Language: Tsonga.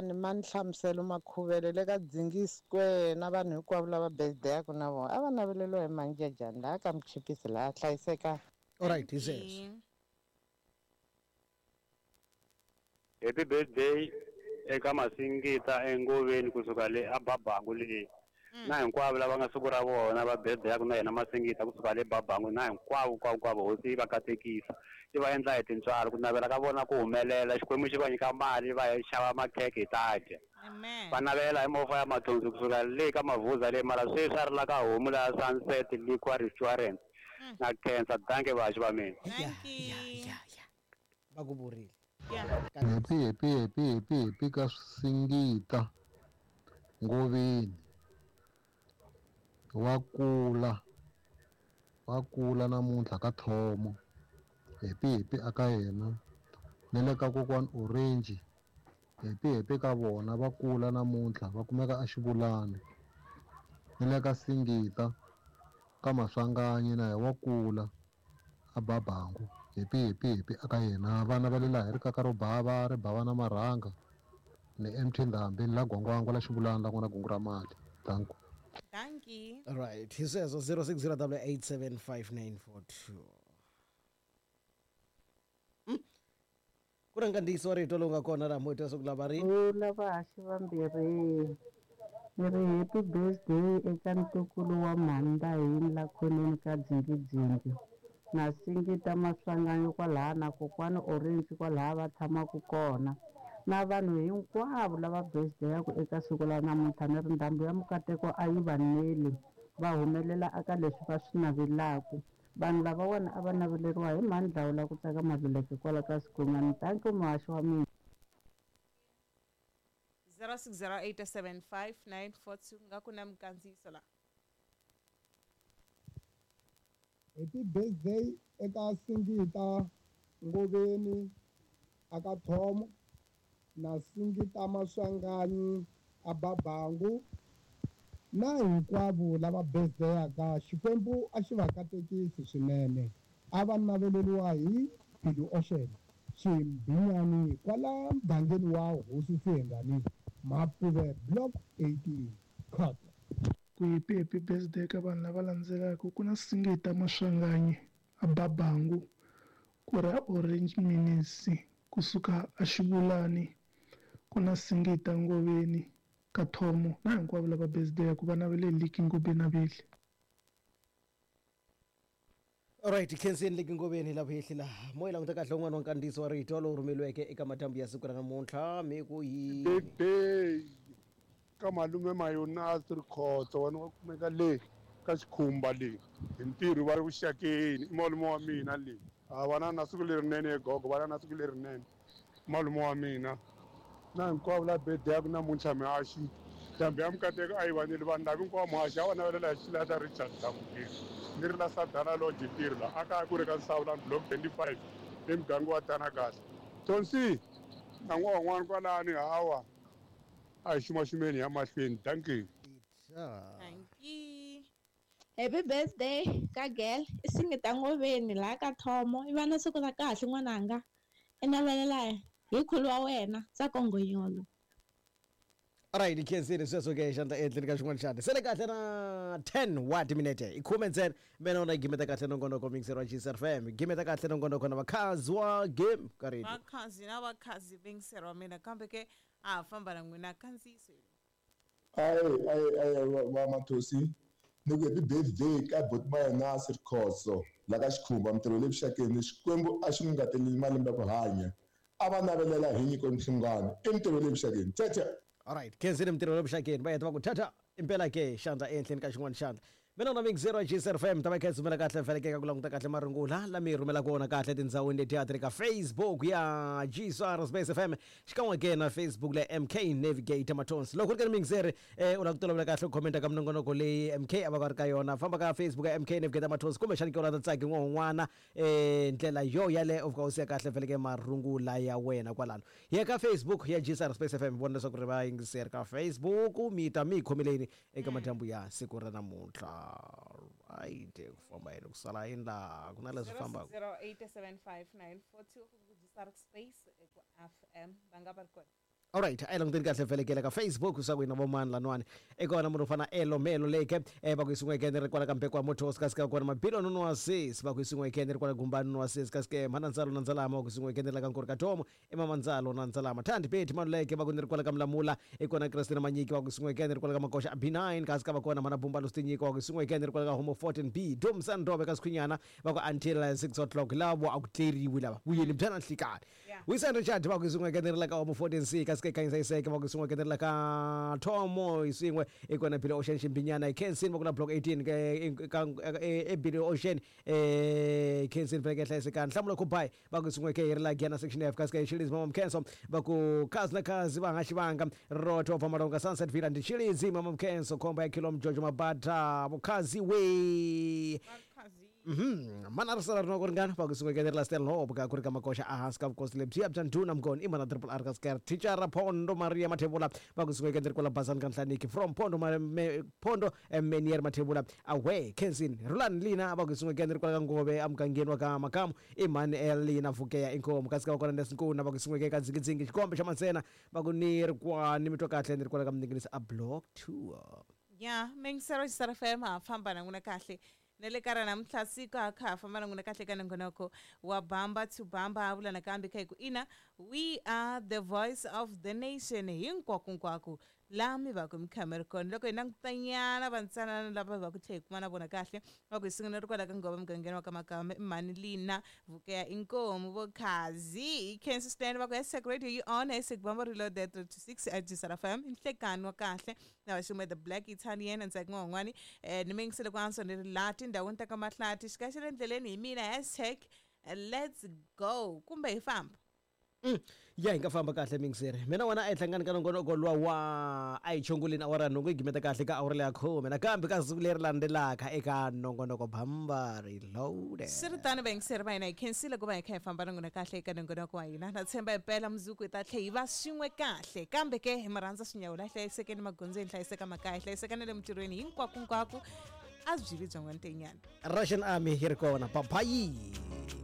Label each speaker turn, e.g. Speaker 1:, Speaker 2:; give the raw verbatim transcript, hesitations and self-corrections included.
Speaker 1: Rhangani ma ni hlamuselo Makhuvele le ka Dzingi Square na vanhu hinkwavo lava birthday-aku na vona a va naveleriwa hi Manjejani laha ka Muchipisi laha hlayiseka.
Speaker 2: Alright, hi sweswo.
Speaker 3: Happy birthday eka Masingita engoveni kusuka le a Babangu le. Na hinkwavo lava nga siku ra vona va birthday ku na yena Masingita kusuka le Babangu na hinkwavo hinkwavo hinkwavo hosi yi va katekisa yi va endla hi tintswalo ku navela ka vona ku humelela Xikwembu xi va nyika mali va ya xava makhekhe hi ta dya. Va navela hi movha ya mathonsi kusuka le ka Mavuza le mara sweswi a ri la ka homu la Sunset Liquor Restaurant na khensa danke vaxi va mina.
Speaker 2: Va ku vurile.
Speaker 4: Happy happy happy happy happy ka Singita Ngoveni wa kula wa kula namuntlha ka Thomo happy happy aka yena ni le ka kokwani Orange happy happy ka vona va kula namuntlha va kumeka a Xivulani ni le ka Singita ka Maswanganyi na wa kula a Babangu happy happy happy aka yena vana va le laha hi ri kaka ro bava ri bava na marhanga ni M T Ndhambi ni la Gwangwangwa la Xivulani la ku na gungu ra mali thank you.
Speaker 5: Thank you.
Speaker 2: All right. He says zero six zero double eight seven five nine four two. Ku ri nkandziyiso wa rito lowu nga kona laha moyeni wa siku la vari.
Speaker 6: Vula vahaxi vambirhi. Ni ri happy birthday eka ntukulu wa Mhandahini la khoneni ka Dzingidzingi. Na Singita Maswanganyi kwalaha na kokwani Orange kwalaha va tshamaka kona. Na vanhu hinkwavo lava birthday-aku eka siku la namuntlha ni ri ndhambi ya mukateko a yi va neli va humelela eka leswi va swi navelaka. Vanhu lavawani a va naveleriwa hi mhani la ku tsaka Maluleke kwala ka Sikhonyana. Thank you muhaxi wa mina.
Speaker 5: zero six zero eight seven five nine four two nga ku na mikandziyiso la.
Speaker 7: Happy birthday eka Singita Ngoveni aka Thomo na Singita Maswanganyi a Babangu na hinkwavo lava birthday-aka Xikwembu a xi va katekisi swinene a va naveleriwa hi Bilu Ocean Ximbinyani kwala mugangeni wa Hosi Sihengani Mapuve Block eighteen Cut.
Speaker 8: Ku happy happy birthday ka vanhu lava landzelaka ku na Singita Maswanganyi a Babangu ku ra Orange Minisi kusuka a Xivulani ku na Singita Ngoveni ka Thomo na hinkwavo lava birthday ku va navele Liki Ngobeni vile.
Speaker 2: Alright, khenseni Liki Ngobeni lava hehli laha moya languta kahle un'wana wa nkandziyiso wa rito lowu rhumeriweke eka madyambu ya siku ra namuntlha mi ku yi
Speaker 9: birthday ka malume Mayonasi Rikhotso wena wa kumeka le ka Xikhumba le hi ntirho va ri vuxakeni i malume wa mina le a vana na siku lerinene gogo vana na siku lerinene malume wa mina na hinkwavo la birthday-aku namuntlha mihaxi ndhambi ya mukateko a yi vaneli vanhu lava hinkwavo muhaxi a va navelela hi xilahla Richard Dlamukeni ni ri la Sadana Lodge ntirho la a kaya ku ri ka Nsawulani Block twenty-five emuganga wa Tanakahle Tonsi na n'wana wan'wana kwalani hawa a hi xumaxumeni ya mahlweni thank you.
Speaker 5: Thank you.
Speaker 10: Happy birthday ka girl i Singita Ngoveni laha ka Thomo i va na siku ra kahle n'wananga i navelela hi khulu wa wena Tsako Ngonyolo.
Speaker 2: Alright, khenseni sweswo ke xandla ehenhleni ka xin'wana xana sele kahle na ten wa timinete i khume ntsena mina na gimeta kahle nongonoko mixer wa G S F M gimeta kahle nongonoko na vakhazi wa game ka radio
Speaker 5: vakhazi na vakhazi mixer wa mina kambe ke a famba na n'wina kandziyiso.
Speaker 11: Ayi ayi ayi va Mathosi ni ku happy birthday ka buti Mayonasi Rikhotso la ka Xikhumba mintirho le vuxakeni Xikwembu a xi n'wi ngateleli malembe ya ku hanya a va navelela hi nyiko Mhlungwana i mintirho le vuxakeni tata.
Speaker 2: Alright, khenseni mintirho le vuxakeni va heta va ku tata impela ke xandla ehenhleni ka xin'wana xandla mina na mix zero G S F M ta va kha sumela kahle feleke ka ku languta kahle marungula lami rhumelaka wona kahle tindhawini leti a ti ri ka Facebook ya G S R Space F M xikan'we ke na Facebook la M K Navigator Mathonsi loko ku ri ka mix zero eh u lava ku tolovela kahle ku commenta ka minongonoko leyi M K a va ka ri ka yona famba ka Facebook ya M K Navigator Mathonsi kumbexana ke u lava ta tsaki n'wana eh ndlela yo yaleyo u fika u siya kahle feleke marungula ya wena kwalano ya ka Facebook ya G S R Space F M vona leswaku ri va yingiseri ka Facebook mi ta mi khomeleni eka madyambu ya siku ra namuntlha. Right, ku famba yini ku sala yini laha ku na leswi fambaka
Speaker 5: zero eight seven five nine four two ku G S R Space ku F M va nga va ri kona.
Speaker 2: Alright, a hi languteni kahle velekela ka Facebook swa ku hina vomani lanwani i kona munhu u fana elo melo leke eh, va ku yisiweke ni ri kwala ka mbeko wa motors kasi ka kona mabilo nono wa sis va ku yisiweke ni ri kwala gumbani nono wa sis kasi ke mhana ndzalo na ndzalama va ku yisiweke ni ri la ka nkori ka thomo i mama ndzalo na ndzalama thandi beti maluleke va ku ni ri kwala ka mlamula i kona Christina Manyiki va ku yisiweke ni ri kwala ka makoxa a B nine kasi ka va kona mhana bumba lustinyiko va ku yisiweke ni ri kwala ka homo fourteen B domsan ndobe ka sikhwinyana va ku until six o'clock lavo a ku tleriwi lava vuyeni bya na nhlikani Wisan Richard va ku yisiweke ni ri la ka homo fourteen C kasi ke khanyisa iseke va ku yisiweke ni ri la ka thomo yin'we i kona Billy Ocean Ximbinyana hi Kensin va ku na block eighteen ke- ka e Billy Ocean eh Kensin veke hlayisekani nhlamulo kubai va ku yisiweke hi ri la Giyana section F kasi ke Chilizi mama Mkhenso va ku kazi na kazi va nga xivanga roto va malonga Sunset Villa ndi Chilizi mama Mkhenso khomba ya kilo mjojo mabata vukhazi we Mhm mana ri sala rinoko ringana va ku yisiweke ni ri la Stanhope ka ku ri ka makoxa ehansi ka vukosi lebyiya bya ndhuna mngoni i mana triple R ka sker thicara Phondo Maria Mathebula va ku yisiweke ni ri kwala Bazani ka Nhlaniki from Phondo Ma- Me- Phondo eh, Menier Mathebula away Kensin Rulani Lina va ku yisiweke ni ri kwala ka Ngove emugangeni wa ka Makamu i mhani Elina Vukeya inkomu kasi ka va kona Nesinkuna va ku yisiweke ka Dzingidzingi xikombe xa Mansena va ku ni ri kwani mi twa kahle ni ri kwala ka Mninginisi a block two.
Speaker 5: Ya mingisero xisara F M ha famba na n'wina kahle na le ka ra namuntlha siku ha kha ha famba na n'wina kahle ka nongonoko wa Bamba to Bamba. Ha vula nakambe kha hi ku ina, we are the voice of the nation hinkwakunkwako laha mi va ku mi kha mi ri kona. Loko hi langutanyana vantsanana lava hi va ku tlhe hi kuma na vona kahle, va ku hi sungula ri kwala ka Ngova mugangeni wa ka Makamba, i mhani Lina Vukeya inkomu vokhazi hi khensa swinene. Va ku hashtag radio you on, hashtag Bamba reloaded three to six at Jisara F M nhlekani wa kahle na vaxume the black Italian ntsaki n'wan'wani um ni mingisele ku antswa ni ri laha tindhawini ta ka Mahlati xika xa le ndleleni hi mina, hashtag let's go kumbe hi famba.
Speaker 2: Mm. Ya hi nga famba kahle mingiseri mina wena a hi hlangani ka nongonoko luwa wa a hi chongoleni awara nhungu hi gimeta kahle ka awara leya khume nakambe ka siku leri landzelaka eka nongonoko Bamba Reloaded.
Speaker 5: Swi ri tano, vayingiseri va hina, hi khensile ku va hi kha hi famba na n'wina kahle eka nongonoko wa hina. Na tshemba himpela mundzuku hi ta tlhe hi va swin'we kahle, kambe ke hi mi rhandza swinyawula. Hlayisekeni magondzweni, hlayiseka makaya, hlayiseka na le mintirhweni, hinkwakunkwako a byi vi byin'wana tenyana.
Speaker 2: Russian Army yi ri kona, babayi.